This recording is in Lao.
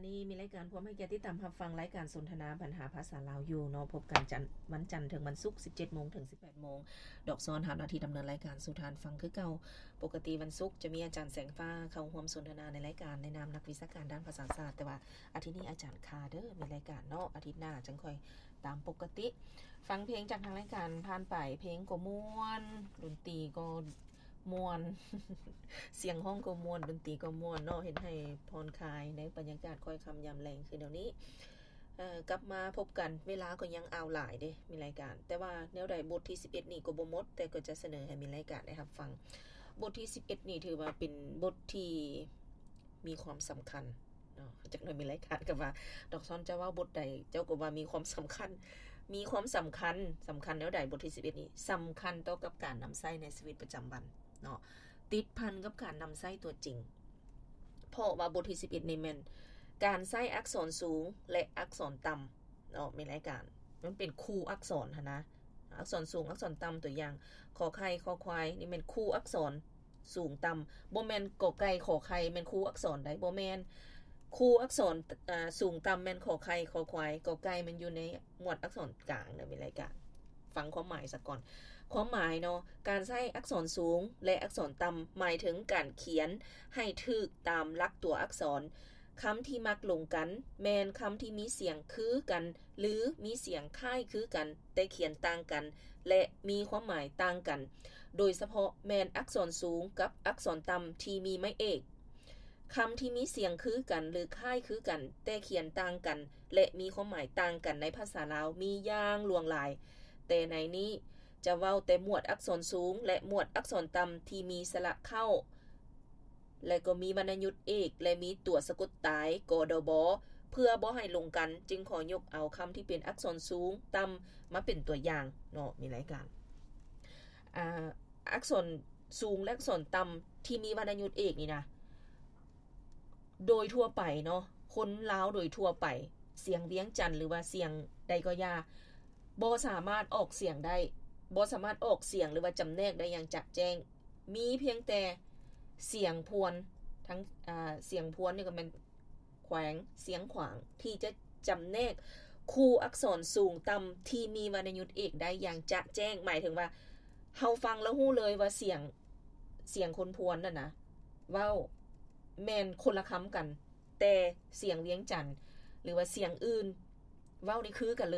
ນີ້ມີລາຍການພວມໃຫ້ກຽດຕິດຕາມຮັບຟັງລາຍການສົນທະນາບັນຫາພາສາລາວຢູ່ເນາະ, ພົບກັນຈັນ ວັນຈັນເຖິງວັນສຸກ ສິບເຈັດໂມງເຖິງສິບແປດໂມງ. ດອກຊອນຮັບໜ້າທີ່ດຳເນີນລາຍການສູ່ທ່ານຟັງຄືເກົ່າ. ປົກກະຕິວັນສຸກຈະມີອາຈານແສງຟ້າເຂົ້າຮ່ວມສົນທະນາໃນລາຍການໃນນາມນັກວິຊາການດ້ານພາສາສາດ, ແຕ່ວ່າອາທິດນີ້ອາຈານຄາເດີ ມີລາຍການເນາະ, ອາທິດໜ້າຈັ່ງຄ່ອຍຕາມປົກກະຕິ. ຟັງເພງຈາກທາງລາຍການຜ່ານໄປ, ເພງກໍມ່ວນ, ດົນຕີກໍ ມ່ວນ ສຽງຮ້ອງກໍມ່ວນ, ດົນຕີກໍມ່ວນເນາະ, ເຮັດໃຫ້ຜ່ອນຄາຍໃນບັນຍາກາດຄ້ອຍຄ່ຳຍາມແລງຄືແນວນີ້. ເອີ ກັບມາພົບກັນ, ເວລາກໍຍັງອາວຫຼາຍເດ້ ມີລາຍການ, ແຕ່ວ່າແນວໃດບົດທີສິບເອັດນີ້ກໍບໍ່ໝົດ, ແຕ່ກໍຈະສະເໜີໃຫ້ມີລາຍການໄດ້ຮັບຟັງ. ບົດທີສິບເອັດນີ້ຖືວ່າເປັນບົດທີ່ມີຄວາມສຳຄັນ ເນາະ, ຈັກໜ້ອຍມີລາຍການກໍວ່າ ດອກຊອນເຈົ້າເວົ້າບົດໃດ ເຈົ້າກໍວ່າມີຄວາມສຳຄັນ, ມີຄວາມສຳຄັນ. ສຳຄັນແນວໃດ? ບົດທີສິບເອັດນີ້ສຳຄັນຕໍ່ກັບການນຳໃຊ້ໃນຊີວິດປະຈຳວັນເນາະ, ຕິດພັນກັບການນຳໃຊ້ຕົວຈິງ, ເພາະວ່າບົດທີສິບເອັດນີ້ແມ່ນການໃຊ້ອັກສອນສູງ ແລະ ອັກສອນຕ່ຳເນາະ, ມີລາຍການ ມັນເປັນຄູ່ອັກສອນຫັ້ນນະ, ອັກສອນສູງ ອັກສອນຕ່ຳ. ຕົວຢ່າງ ຂໍໄຂ່ ຄໍຄວາຍ ນີ້ແມ່ນຄູ່ອັກສອນ ສູງຕ່ຳ, ບໍ່ແມ່ນ ກ ໄກ່ ຂໍໄຂ່ ແມ່ນຄູ່ອັກສອນໃດ໋, ບໍ່ແມ່ນ. ຄູ່ອັກສອນ ອາ ສູງຕ່ຳແມ່ນ ຂ ໄຂ່ ຄໍຄວາຍ, ກ ໄກ່ ແມ່ນຢູ່ໃນໝວດອັກສອນກາງເດີ ມີລາຍການ. ຟັງຄວາມໝາຍສາກ່ອນ. ຄວາມໝາຍເນາະ, ການໃຊ້ອັກສອນສູງ ແລະ ອັກສອນຕ່ຳ ໝາຍເຖິງການຂຽນໃຫ້ຖືກຕາມຫຼັກຕົວອັກສອນ. ຄຳທີ່ມັກລົງກັນ ແມ່ນຄຳທີ່ມີສຽງຄືກັນ ຫຼື ມີສຽງຄ້າຍຄືກັນ ແຕ່ຂຽນຕ່າງກັນ ແລະ ມີຄວາມໝາຍຕ່າງກັນ, ໂດຍສະເພາະແມ່ນອັກສອນສູງກັບອັກສອນຕ່ຳທີ່ມີໄມ້ເອກ. ຄຳທີ່ມີສຽງຄືກັນ ຫຼື ຄ້າຍຄືກັນ ແຕ່ຂຽນຕ່າງກັນ ແລະ ມີຄວາມໝາຍຕ່າງກັນໃນພາສາລາວມີຢ່າງຫຼວງຫຼາຍ, ແຕ່ໃນນີ້ຈະເວົ້າແຕ່ໝວດອັກສອນສູງ ແລະ ໝວດອັກສອນຕ່ຳທີ່ມີສະຫຼະເຄົ້າ ແລະ ກໍມີວັນນະຍຸດເອກ ແລະ ມີຕົວສະກົດຕາຍ ກ ດ ບ ເພື່ອບໍ່ໃຫ້ລົງກັນ, ຈຶ່ງຂໍຍົກເອົາຄຳທີ່ເປັນອັກສອນສູງ, ຕ່ຳ ມາເປັນຕົວຢ່າງເນາະ, ມີລາຍການ. ອາ ອັກສອນສູງ ແລະ ອັກສອນຕ່ຳທີ່ມີວັນນະຍຸດເອກນີ້ນະ, ໂດຍທົ່ວໄປເນາະ, ຄົນລາວໂດຍທົ່ວໄປ, ສຽງວຽງຈັນ ຫຼືວ່າສຽງໃດກໍຢ່າ, ບໍ່ສາມາດອອກສຽງໄດ້, ບໍ່ສາມາດອອກສຽງ ຫຼືວ່າຈຳແນກໄດ້ຢ່າງຈະແຈ້ງ. ມີພຽງແຕ່ສຽງພວນ ທັງ ອາ ສຽງພວນນີ້ກໍແມ່ນແຂວງຊຽງຂວາງ ທີ່ຈະຈຳແນກຄູ່ອັກສອນສູງຕ່ຳທີ່ມີວັນນະຍຸດເອກໄດ້ຢ່າງຈະແຈ້ງ. ໝາຍເຖິງວ່າເຮົາຟັງແລ້ວຮູ້ເລີຍວ່າສຽງ ສຽງຄົນພວນນັ້ນນະ ເວົ້າແມ່ນຄົນລະຄຳກັນ, ແຕ່ສຽງວຽງຈັນ ຫຼືວ່າສຽງອື່ນ ເວົ້ານີ້ຄືກັນເລີຍ.